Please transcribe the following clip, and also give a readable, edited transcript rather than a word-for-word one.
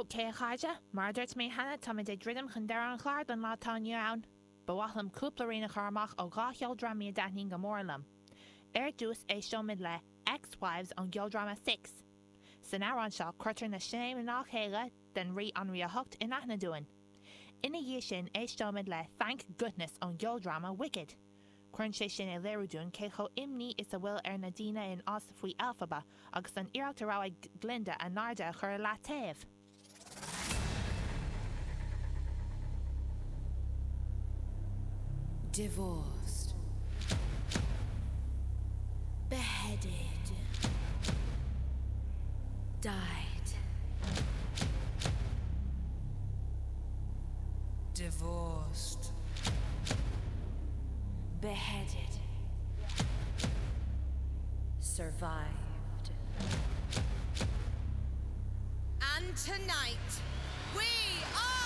Ok, a chairde, mar a dúirt mé cheana, táimid ag druidim chun deireadh an chláir don lá atá inniu ann. Ba mhaith liom cúpla rian a chur amach ó dhá cheoldrámaí a dtaitníonn go mór liom. Ar dtús, éisteoimid le Ex-Wives ón gceoldráma Six. San amhrán seo, cuirtear na sean-mhná céile den Rí Anraí a hOcht in aithne dúinn. Ina dhiaidh sin, éisteoimid le Thank Goodness ón gceoldráma Wicked. Cuireann sé sin ar léiriú dúinn cé chomh imní is a bhfuil ar na daoine in Oz faoi Elphaba agus an iarracht a raibh ag Glinda a naimhde a chur i leataobh. Divorced. Beheaded. Died. Divorced. Beheaded. Survived. And tonight, we are.